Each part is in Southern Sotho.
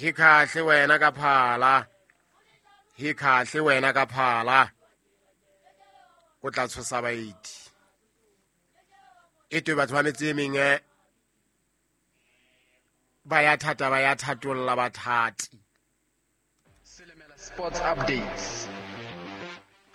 Hi kahle wena ka phala, hi kahle wena ka phala, o tla tshosa baeti. E twe batho ba metse e mengwe ba ya thata, ba ya thatolla bathati. Sports updates.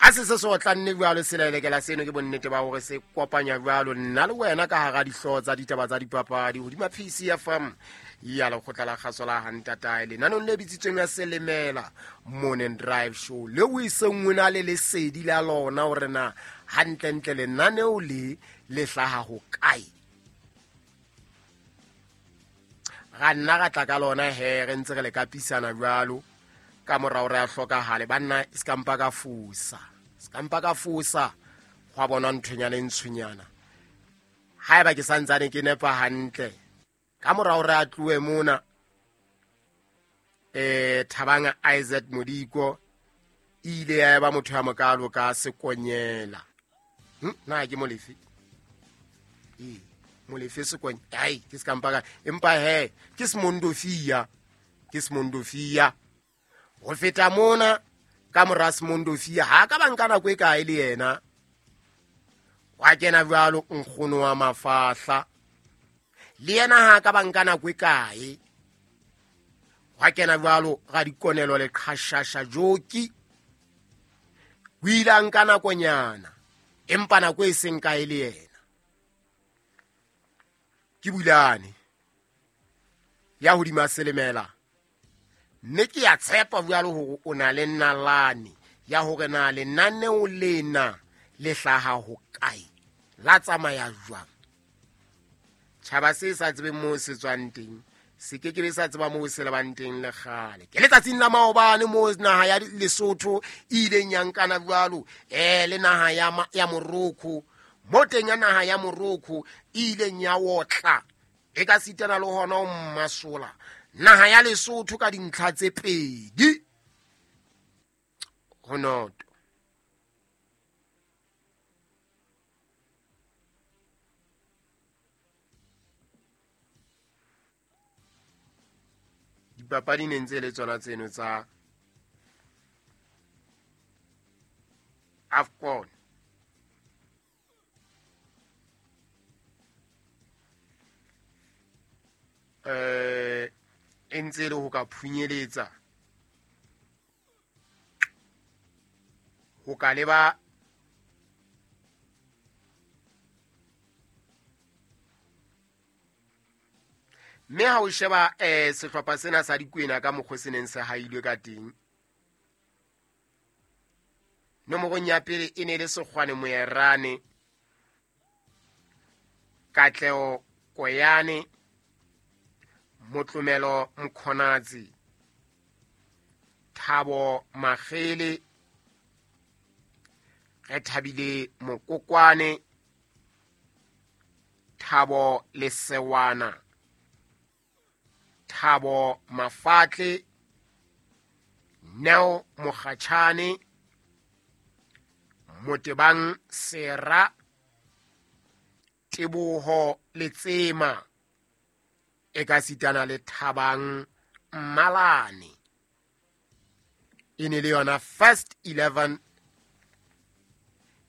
A se se se otlanne jwalo selelekela seno ke bonnete ba hore se kopanya jwalo nna le wena ka hara dihlooho tsa ditaba tsa dipapadi hodima PCFM ya lekgotla la kgaso la Hantatae lenanong le bitsitsweng ya Selemela Morning Drive Show le o iseng o na le lesedi la lona hore na hantlentle lenaneo le le hlaha ho kae. Ra nna ra tla ka lona he re ntse re le kapisana jwalo ka morao re a hlokahale banna e se ka mpa ka fosa, se ka mpa ka fosa gwa bonwa nthonyana e ntshonyana. Haeba ke santsane ke nepa hantle ka morao re a tlohe mona Thabang Isaac Modiko e ile ya eba motho ya mokalo ka Sekonyela. Na ke Molefe? Ee, Molefe Sekonyela. Ai, ke se ka mpa ka, empa he ke Semondofia, ke Semondofia. Ho feta mona ka mora Semondofia ha ka ba nka nako e kae le yena. Wa kena jwalo nkgono wa mafahla. Le yena ha ka ba nka nako e kae. Wa kena jwalo ga dikonelo le qhashasha joki. O ile a nka nakonyana, empa nako e seng kae le yena. Ke Bulane ya hodima Selemela. Mme ke a tshepa jwalo hore o na le nalane ya hore na lenaneo lena le hlaha ho kae, la tsamaya jwang. Tjhaba se sa tsebeng moo se tswang teng se ke ke be sa tseba moo se lebang teng le kgale. Ke letsatsing la maobane moo naha ya Lesotho e ileng ya nkana jwalo, le naha ya Morocco. Mo teng ya naha ya Morocco e ileng ya otla e ka sitana le hona ho mmasola naha ya Lesotho ka dintlha tse pedi ho noto. Dipapadi ne ntse le tsona tseno tsa AFCON. E ntse le ho ka phunyeletsa ho ka leba mme ha o sheba sehlopha sena sa Dikwena ka mokgwa se neng se hailwe ka teng, nomorong ya pele e ne le Sekgwane Moerane, Katleho Koyane, Motlomelo Mkhonatsi, Thabo Magele, Rethabile Mokokwane, Thabo Lesewana, Thabo Mafatle, Neo Mokgatjhane, Motebang Sera, Teboho Letsema, e ka sitana le Thabang Mmalane. E ne le yona first 11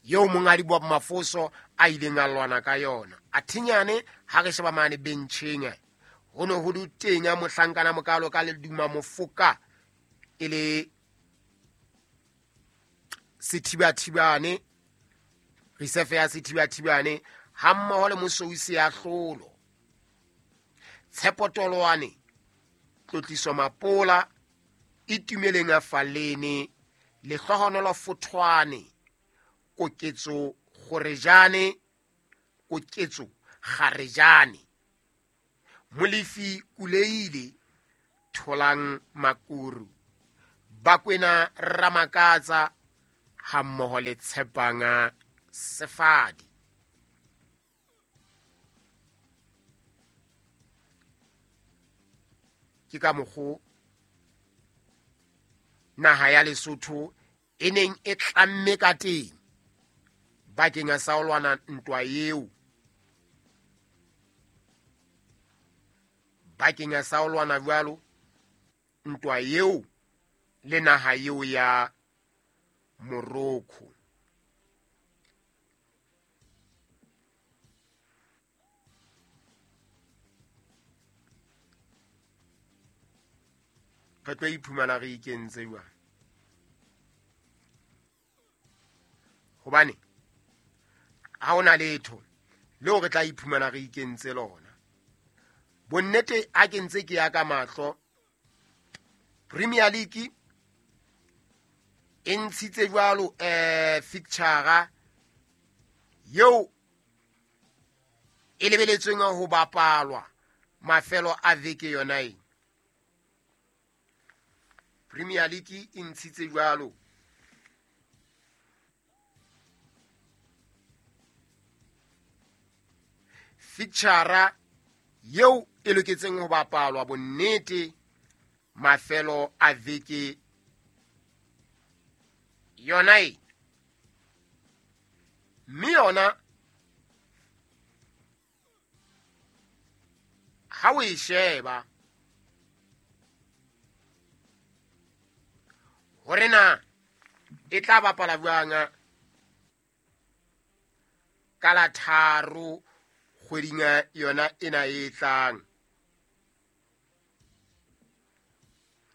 eo monghadi Bob Mafoso a ileng a lwana ka yona. A thinyane ha re sheba mane bencheng, ho ne ho le teng mohlankana mokalo ka Leduma Mofoka e le Sethibathibane, reserve ya Sethibathibane ha mmoho le Mosousi ya Hlolo, Tshepo Toloane, Tlotliso Mapola, Itumeleng a Falene, Lehlohonolo Fothwane, Koketso Kgorejane, Koketso Kgarejane, Molefi Kuleile, Tholang Makuru, Bakwena Ramakatsa ha mmoho le Tshepanga Sefadi. Ke ka mokgo naha ya Lesotho e neng e tlamme ka teng bakeng sa ho lwana ntwa eo, bakeng sa ho lwana jwalo ntwa eo le naha eo ya Morocco. Re tlo iphumana re ikentse jwang? Hobane ha hona letho leo re tla iphumana re ikentse lona. Bonnete ha ke ntse ke ya ka mahlo, Premier League e ntshitse jwalo fixture eo e lebeletsweng ho bapalwa mafelo a veke yona ena. Premier League e ntshitse jwalo fixture eo e loketseng ho bapalwa bonnete mafelo a veke yona e. Mme yona ha o e sheba hore na e tla bapala jwang ka la 3 kgweding yona ena e tlang.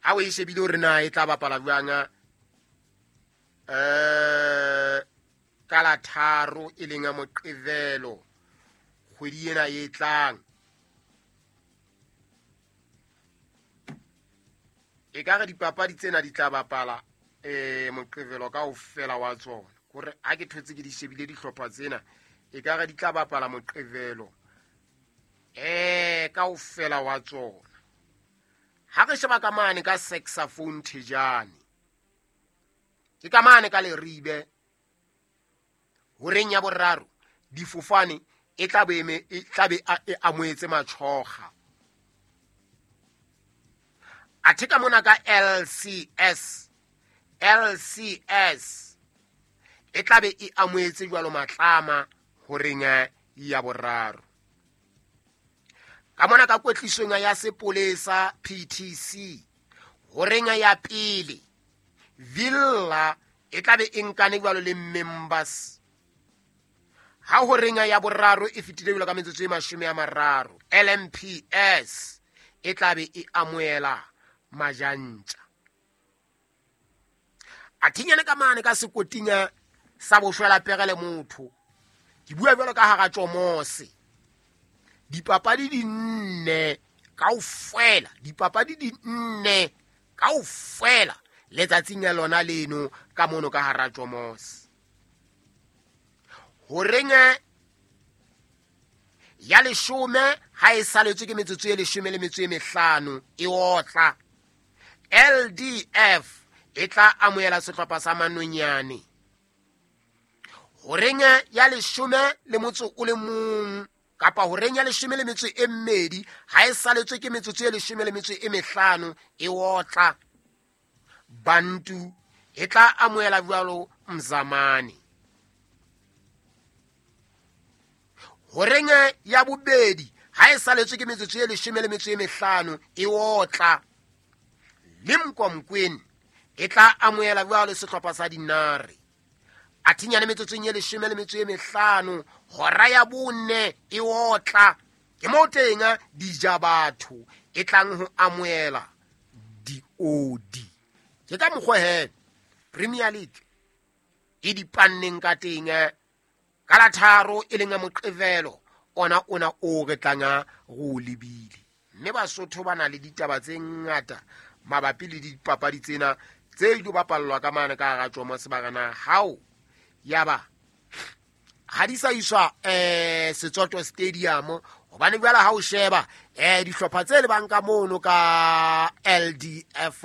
Ha o e shebile hore na e tla bapala jwang ka la 3 e leng ya Moqebelo kgwedi ena e tlang, e ka re dipapadi tsena di tla bapala Moqebelo kaofela wa tsona. Hore ha ke thotse ke di shebile dihlopha tsena, e ka re di tla bapala Moqebelo kaofela wa tsona. Ha re sheba ka mane ka saxophone Thejane, ke ka mane ka Leribe horeng ya boraro difofane e tla be e amohetse Matshoga. Athe ka mona ka LCS e tla be e amohetse jwalo Matlama horeng ya boraro. Ka mona ka kwetlisong ya sepolesa PTC horeng ya pele Villa e tla be e nkane jwalo le members. Ha horeng ya boraro e fetile jwalo ka metsotso e 30 LMPS e tla be e amohela Majantja. A thinyane ka mane ka sekoting sa boshwela pere le motho. Ke bua jwalo ka hara Tjomose. Dipapadi di nne kaofela, dipapadi di nne kaofela letsatsing ya lona leno ka mono ka hara Tjomose. Horeng ya 10 ha e saletswe ke metsotso e 15 e otla LDF e tla amohela sehlopha sa Manonyane. Horeng ya 11 kapa horeng ya 12 ha e saletswe ke metsotso e 15 e otla Bantu e tla amohela jwalo Mzamani. Horeng ya bobedi ha e saletswe ke metsotso e 15 e otla Limkomkweni e tla amohela jwalo sehlopha sa Dinare. A thinyane metsotsong e 15 hora ya 4 e otla ke mo teng dija batho e tlang ho amohela diodi. Ke ka mokgwa he Premier League e dipanneng ka teng ka la 3 e leng ya Moqebelo ona o re tlanga go lebile. Mme Basotho ba na le ditaba tse ngata mabapi le dipapadi tsena tse ilo bapallwa ka mane ka hara Tjomose ba hao yaba ha di sa iswa Setsoto Stadium hobane jwale ha o sheba dihlopha tse lebang ka mono ka LDF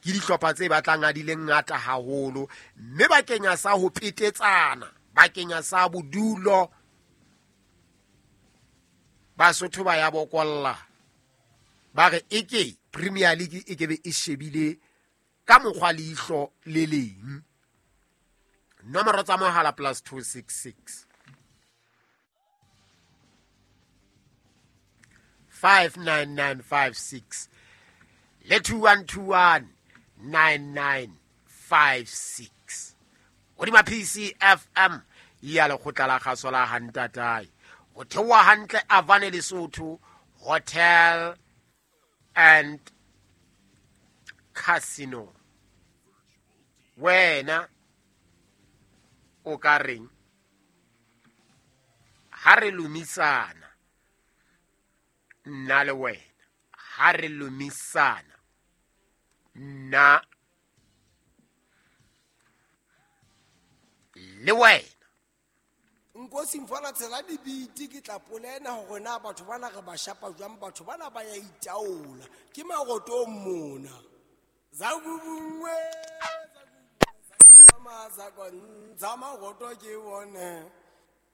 ke dihlopha tse batlang a di le ngata haholo, mme bakeng sa ho petetsana, bakeng sa bodulo, Basotho ba ya bokolla ba re eke Premier League e kebe e shebile ka mokgwa leihlo le leng. Nomoro tsa mohala +266 59956 Le 2121 9956 hodima PCFM ya lekgotla la kgaso la hantatae go theoha hantle Avane Lesotho Hotel and Casino. Wena o ka reng ha re lomisana nna le wena, ha re lomisana nna le wena? Nkosi mfana, tshela dibiti, ke tla polena hore na batho bana re ba shapa jwang. Batho bana ba ya itaola, ke marotong mona. Zakubungwe, mazakontsha maroto ke bone.